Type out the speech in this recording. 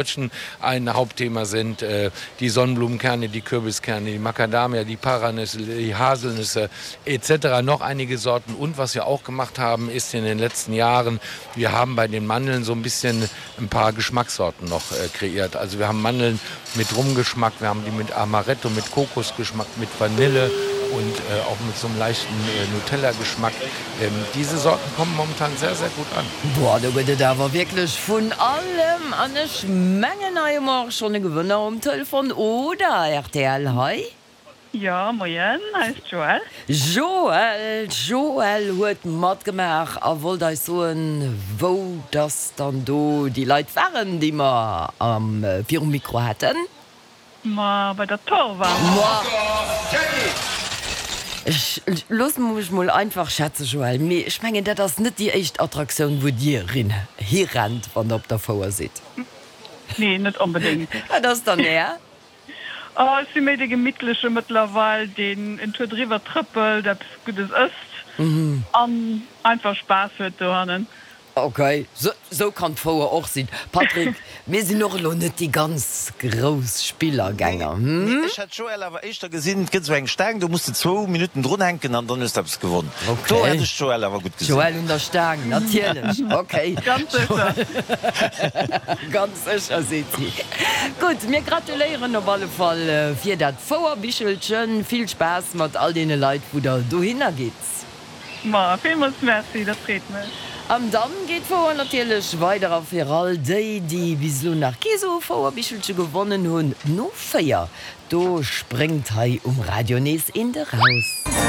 Deutschen ein Hauptthema sind äh, die Sonnenblumenkerne, die Kürbiskerne, die Macadamia, die Paranüsse, die Haselnüsse etc. Noch einige Sorten. Und was wir auch gemacht haben, ist in den letzten Jahren, wir haben bei den Mandeln so ein bisschen ein paar Geschmackssorten noch äh, kreiert. Also wir haben Mandeln mit Rumgeschmack, wir haben die mit Amaretto, mit Kokosgeschmack, mit Vanille und äh, auch mit so einem leichten äh, Nutella-Geschmack. Ähm, diese Sorten kommen momentan sehr, sehr gut an. Boah, do gëtt et awer wierklech vun allem an ech mengen hei hu mer och schonn e Gewënner um Telefon, oder rtl hei? Jo, moien, hei ass d'Joëlle. Joëlle, d'Joëlle huet matgemaach a wollt eis soen, wou dass dann do déi Leit waren, déi mer am virum Mikro haten. Ma bei der Tor war. Ma ech loosse mech mol einfach schätzen, Joël, mee ech mengen, dat ass net déi éischt Attraktioun, wou Dir hirennt, wann Der op der Fouer sidd. Nee, net onbedéngt. Wat ass dann Är? Oh, ech si méi dee Gemittleche mëttlerweil, deen en Tour driwwer trëppelt, eppes Guddes ësst an einfach Spaass huet dohannen. Ok, sou kann d'Fouer och sinn. Patrick, mir sinn och elo net déi ganz grouss Spillergänger, hm? Nee, ech hätt d'Joëlle awer éischter gesinn, et gëtt esou eng Staang, do muss de zwou Minutten drun hänken an dann hues de eppes gewonn. Ok. Do hätt ech d'Joëlle awer gutt gesinn. D'Joëlle un der Staang, natierlech. Ok. Ganz sécher. Ganz sécher, seet si. Gutt, mir gratuléieren op alle Fall fir dat Fouerbichelchen. Vill Spaass mat all deene Leit, wou der dohinner gitt. Ma villmools Merci, dat freet mech. An dann geet d'Fouer natierlech weider a fir all déi, déi bis elo nach kee sou e Fouerbichelche gewonnen hunn, no 4, do spréngt hei um Radio nees eent eraus.